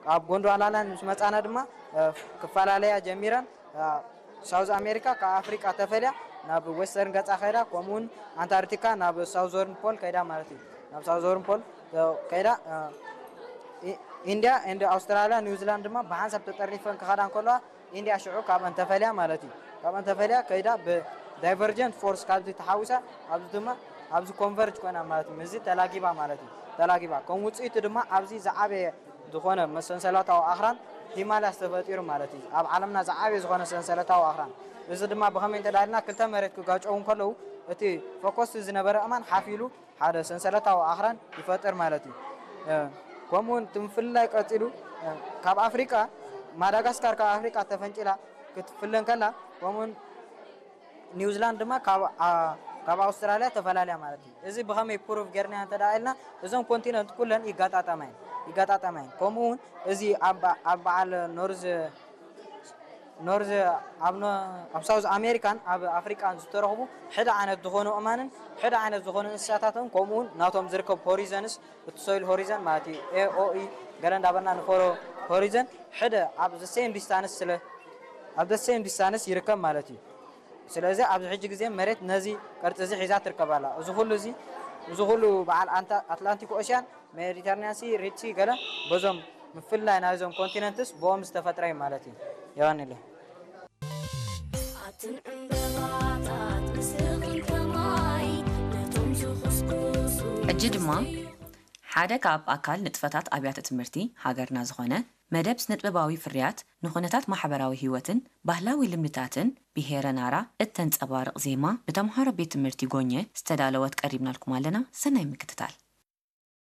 ኣብ ጎንድዋላላንድ ምስ መጻና ድማ እ፣ ክፈላለያ ጀሚረን። እ፣ ሳውዝ ኣሜሪካ ካብ ኣፍሪቃ ተፈልያ ናብ ዌስተርን ገጻ ከይዳ፣ ከምኡውን ኣንታርክቲካ ናብ ሳውዘርን ፖል ከይዳ ማለት እዩ። ናብ ሳውዘርን ፖል እ፣ ከይዳ እ፣ ኢ- ኢንድያ ኤንድ ኣውስትራልያ፣ ኒውዚላንድ ድማ ብሓንሳብ ተጠርኒፈን ክኸዳ እንከለዋ፣ ኢንድያ ሽዑ ካብአን ተፈልያ ማለት እዩ። ካብአን ተፈልያ ከይዳ ብዳይቨርጀንት ፎርስ ካብዚ ተሓዊሳ ኣብዚ ድማ ኣብዚ ኮንቨርጅ ኮይና ማለት እዩ። ምስዚ ተላጊባ ማለት እዩ። ተላጊባ ከም ውፅኢቱ ድማ ኣብዚ ዝዓበየ ዝኾነ መሰንሰለታዊ ኣኽራን ሂማላያስ ተፈጢሩ ማለት እዩ። ኣብ ዓለምና ዝዓበየ ዝኾነ ሰንሰለታዊ ኣኽራን፣ እዚ ድማ ብኸመይ እንተዳልና ክልተ መሬት ክጋጨው እንከለዉ እቲ ፎኮስ ዝነበረ እማን ሓፍ ኢሉ ሓደ ሰንሰለታዊ ኣኽራን ይፈጥር ማለት እዩ። ከምኡውን እቲ ምፍልላይ ቀፂሉ ካብ ኣፍሪቃ ማዳጋስካር ካብ ኣፍሪቃ ተፈንጭላ ክትፍለ እንከላ፣ ከምኡውን ኒውዚላንድ ድማ ካብ ኣውስትራልያ ተፈላለያ ማለት እዩ። እዚ ብኸመይ ፕሩፍ ጌርና እንተ ኢልና፣ እዞም ኮንቲነንት ኩለን ይጋጣጠማ እየን ይጋጣጠማ እየን። ከምኡ እውን እዚ ኣብ በዓል ኖርዝ ኖርዝ ኣብ ሳውዝ ኣሜሪካን ኣብ ኣፍሪቃን ዝተረኽቡ ሕደ ዓይነት ዝኾኑ እማንን ሕደ ዓይነት ዝኾኑ እንስሳታትን፣ ከምኡውን ናቶም ዝርከብ ሆሪዘንስ፣ እቲ ሶይል ሆሪዘን ማለት እዩ። ኤኦኢ ገለ እንዳበልና ንፈሮ ሆሪዘን ሕደ ኣብ ዘ ሴም ዲስታንስ ስለ ኣብ ዘ ሴም ዲስታንስ ይርከብ ማለት እዩ። ስለዚ ኣብዚ ሕጂ ግዜ መሬት ነዚ ቅርፂ እዚ ሒዛ ትርከባላ። እዚ ኩሉ እዚ እዚ ኩሉ በዓል ኣትላንቲክ ኦሽያን፣ ሜዲተርኒያን ሲ፣ ሪድ ሲ ገለ በዞም ምፍላይ ናይዞም ኮንቲነንትስ ብኦም ዝተፈጥረ እዩ ማለት እዩ። የዋንለ ኣትን ዕምበባታት ምስኽን ከማይ ነቶም ዝኹስኩሱ ሕጂ ድማ ሓደ ካብ ኣካል ንጥፈታት ኣብያተ ትምህርቲ ሃገርና ዝኾነ መደብ ስነጥበባዊ ፍርያት ንኹነታት ማሕበራዊ ህይወትን ባህላዊ ልምድታትን ብሄረ ናራ እተንጸባርቕ ዜማ ብተምሃሮ ቤት ትምህርቲ ጎኘ ዝተዳለወት ቀሪብናልኩም ኣለና። ሰናይ ምክትታል።